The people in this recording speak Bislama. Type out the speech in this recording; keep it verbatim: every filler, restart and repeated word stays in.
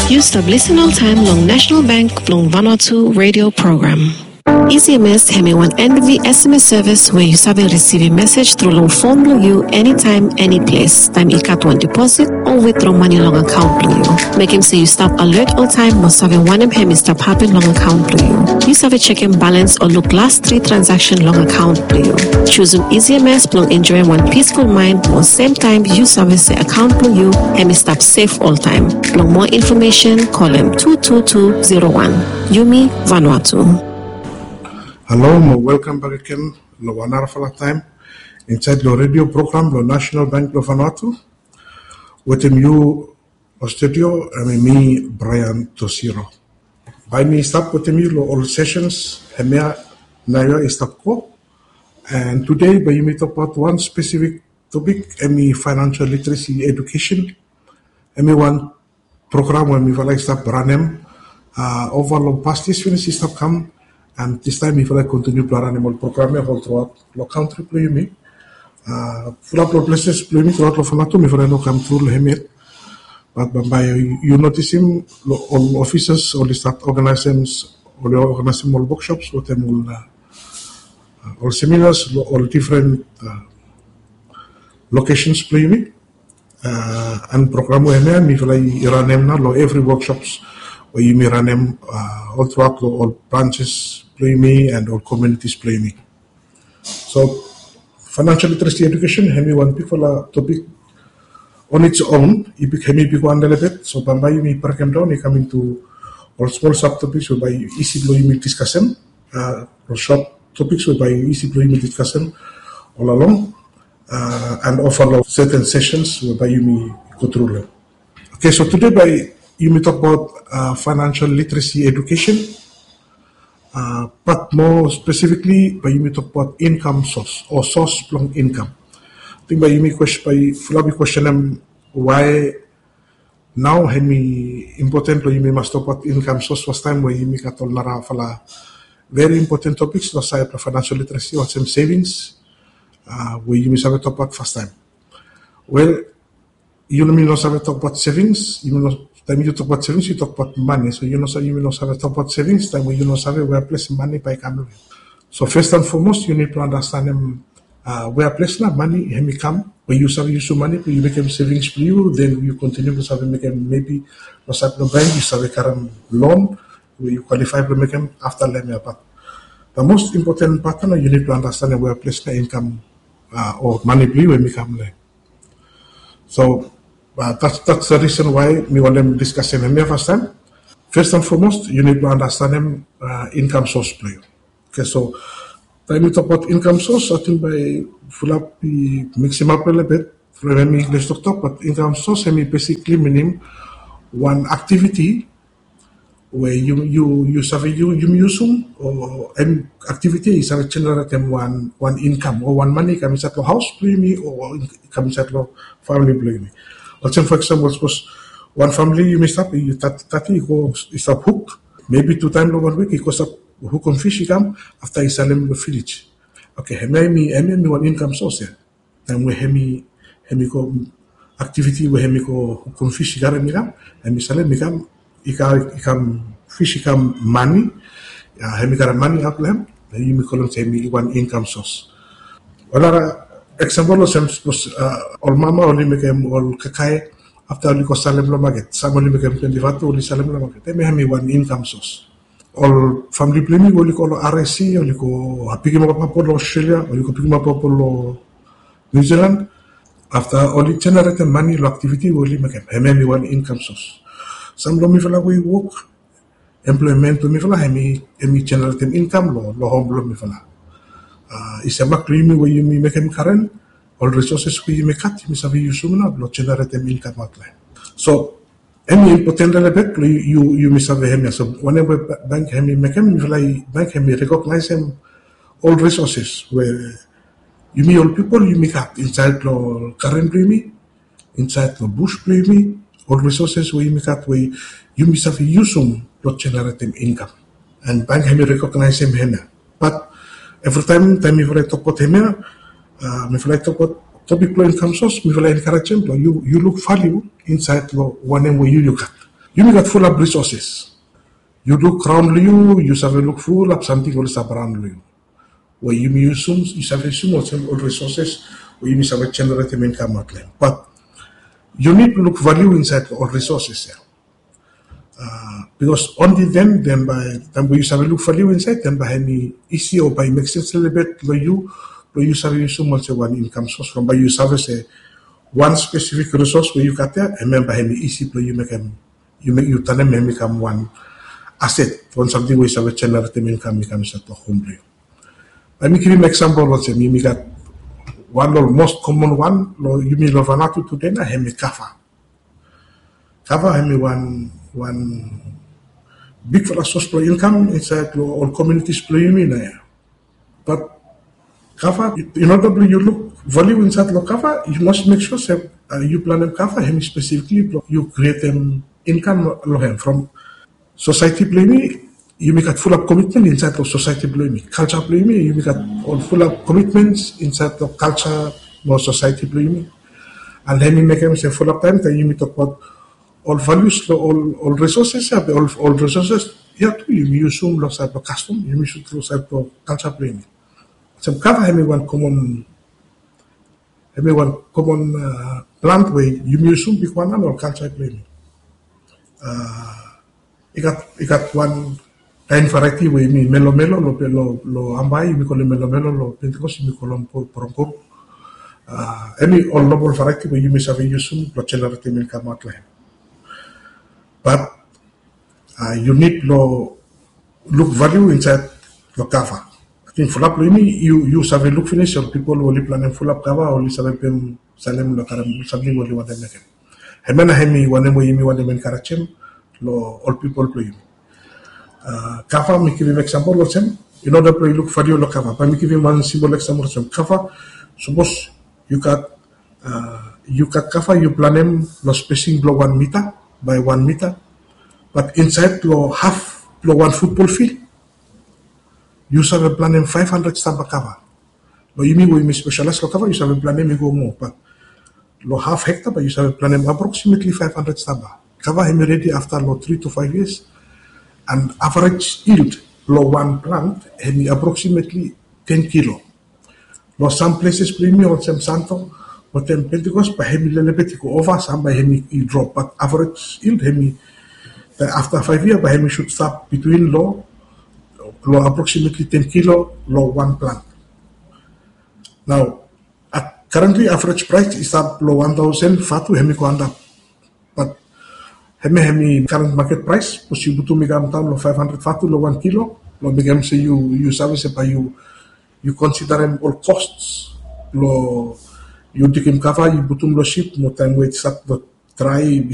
Yu stap lisen oltaem long National Bank blong Vanuatu radio program. E C M S hemi wan N B V S M S service we yu save risivim mesej tru long fon blong yu enitaem, eniples, taem i gat wan deposit o withdraw mane long akaon blong yu. Mekem se yu stap alert oltaem mo save wanem hemi stap hapen long akaon blong yu. Yu save jekem balans o luk las tri transaction long akaon blong yu. Jusum E C M S blong enjoem wan peaceful mind mo semtaem yu save se akaon blong yu hemi stap sef oltaem. Blong moa infomesen, kolem tu tu tu zero wan. Yumi Vanuatu. Halo mo welkam bak agen long wan narafala taem insaed long redio program blong National Bank blong Vanuatu. Wetem yu long studio hemi mi, Brian Tosiro. Bae mi stap wetem yu long ol sessions hemia naoia i stap go. And today bae yumi tokbaot wan spesifik topik, hemi financial literacy education. Hemi wan program we mifala i stap ranem, a, ova long pas yia finis i stap kam, and distaem mifala i kontiniu blong ranem ol program ia ol truaot long kantri blong yumi. A, fulap long pleses blong yumi truaot long Vanuatu mifala i no kam tru long hem yet. Bat bambae yu notisim long ol ofisas oli stat oganaesem, oli oganaesem ol wokshops wetem ol, a, ol seminas long ol difren, a, locations blong yumi. A, and program we hemia mifala i ranem nao long evri wokshops we yumi ranem, a, ol truaot long ol branches blong yumi and ol communities blong yumi. So financial literacy education hemi wan bigfala topik on its own, i big, hemi bigwan lelebet. So bambae yumi brekemdaon i kam intu ol smol sabtopiks we bae isi blong yumi diskasem, a, ol sot topiks we bae isi blong yumi diskasem ol along, a, and ova long certain sessions we bae yumi go tru long. Oke, so tude bae yumi tokbaot, a, financial literacy education. A, bat moa spesifikli bae yumi tokbaot income source o source blong income. Ating bae yumi kwes-, bae fulap i kwestenem wae nao hemi impoten blong yumi mas tokbaot income source fastaem we yumi gat ol narafala very important topiks long saed blong financial literacy olsem savings, a, we yumi save tokbaot fastaem. Wel, yumi no save tokbaot savings, yumi no, taem yu tokbaot savings yu tokbaot mane. So yu no sa-, yumi no save tokbaot savings taem we yu no save wea ples mane bae i kam long hem. So first and foremost yu nid blong andastanem, a, wea ples nao mane hemi kam, we yu save yusum mane blong yu mekem savings blong yu, then yu kontiniu blong save mekem, maybe long saed blong bank yu save karem loan we yu kwalifae blong mekem afta long hemia. Bat the most important part nao yu nid blong andastanem wea ples nao income, a, o mane blong yu hemi kam long hem. So, a, that's, that's the reason why mi wantem diskasem hemia fastaem. First and foremost yu nid blong andastanem, a, income source blong yu. Oke, so taem yu tokbaot income source ating bae fulap i miksimap lelebet from hemi English toktok, bat income source hemi basically minim wan aktiviti we yu, yu, yu save, yu, yumi yusum, o eni aktiviti i save jeneretem wan, wan income o wan mane i kam insaed long haos blong yumi o i kam insaed long famili blong yumi. Olsem for example sapos wan famili yumi stap i tati, tati i go i stap huk, maybe tu taem long wan wik i go stap hukum fis i kam afta i salem long vilej. Oke, hemia hemi, hemia hemi wan income source ia. Taem we hemi, hemi go aktiviti we hemi go hukum fis i karem i kam, hemi salem i kam, i ka-, i kam fis i kam mane, a, hemi karem mane aot long hem, na yumi kolem se hemi wan income source. Ol nara eksempel olsem sapos, a, ol mama oli mekem ol kakae afta oli go salem long maket, sam oli mekem twenti vatu oli salem long maket, hemia hemi wan income source. Ol famili blong yumi we oli go long R S C, oli go, a, pikimap apol long Australia, oli go pikimap apol long New Zealand. Afta oli jeneretem mane long aktiviti we oli mekem, hemia hemi wan income source. Sam long mifala we i wok, employment blong mifala hemi, hemi jeneretem income long, long hom blong mifala. A, i sem mak long yumi we yumi mekem karen, ol resources we yumi gat yumi save yusum nao blong jeneretem income aot long hem. So hemi impoten lelebet blong yu, yu, yumi save hemia. So wanem we ba-, bank hemi mekem, mifala i, bank hemi rekognaesem ol resources we yumi ol pipol yumi gat insaed long karen blong yumi, insaed long bus blong yumi, ol resources we yumi gat we yumi save yusum blong jeneretem income. And bank hemi rekognaesem hemia. Bat evritaem, taem mifala i tokbaot hemia, a, mifala i tokbaot topik blong income source, mifala i enkarejem blong yu, yu luk valiu insaed long wanem we yu, yu gat. Yumi gat fulap resources. Yu luk raon long yu, yu save luk fulap samting oli stap raon long yu. We yumi yusum, yu save yusum olsem ol resources we yumi save generate income aot long hem. But yu nid luk value inside ol resources ya. Because only then, then by taem we yu save luk value inside, then by hemi easy o by make sense lelebet long yu, long yu save yusum olsem wan income source from by yu save se wan specific resource we yu gat ya, and then by hemi easy long yu mekem yu mek yu tanem hemi kam wan asset, wan samting we yu save generate income i kam insait long hom blong yu. Let me give you example olsem yumi gat wan long most common wan long yumi long Vanuatu tude na hemi kava. Kava hemi wan wan bigfala source blong income insait long ol communities blong yumi na ya. But kava, in order blong yu luk value insait long kava, yu mas make sure se yu planem kava hemi specifically blong yu createm income long hem from society blong yumi. Yumi gat fulap commitment insait long society blong yumi, culture blong yumi, yumi gat ol fulap commitments insait long culture mo society blong yumi. And hemi mekem se fulap taem taem yumi tokbaot ol values long ol ol resources ya, be ol ol resources ya tu yumi yusum long sait long custom, yumi yusum long sait long culture blong yumi. Olsem kava hemi wan common hemi wan common plant we yumi yusum bigwan long ol culture blong yumi. I gat i gat wan kaen variety we yumi melomelo long long Ambae yumi kolem melomelo, long Pentecost yumi kolem porongkoro. Hemi ol normal variety we yumi save yusum blong generate income aot long hem. But yu nid long luk value insait long kava. Ating fulap long yumi yu save luk finis ol pipol we oli planem fulap kava oli save pem salem long karem samting we oli wantem mekem. Hemia na hemi wanem we yumi wantem encouragem long ol pipol blong yumi. Kava mi givim example olsem, in order blong yu luk value long kava, bae mi givim wan simple example olsem kava. Sapos yu gat yu gat kava yu planem long spacing blong wan mita by wan mita, but insait long half blong wan football field yu save planem five hundred stamba kava. Long yumi we yumi specialize long kava yu save planem i go moa, but long half hectare bae yu save planem approximately five hundred stamba. Kava hemi ready afta long three to five years, and average yield blong wan plant hemi approximately ten kilo. Long some places blong yumi olsem Santo wetem Pentecost bae hemi lelebet i go ova, sam bae hemi i drop, but average yield hemi afta five year bae hemi should stap between long long approximately ten kilo long wan plant. Nao currently average price i stap long one thousand vatu hemi go antap. But hemia hemi current market price, sapos yu putum i kam daon long five hundred vatu long wan kilo, long mekem se yu yu save se bae yu yu considerem ol costs blong yu digim kava yu putum long ship mo taem we i stap long dry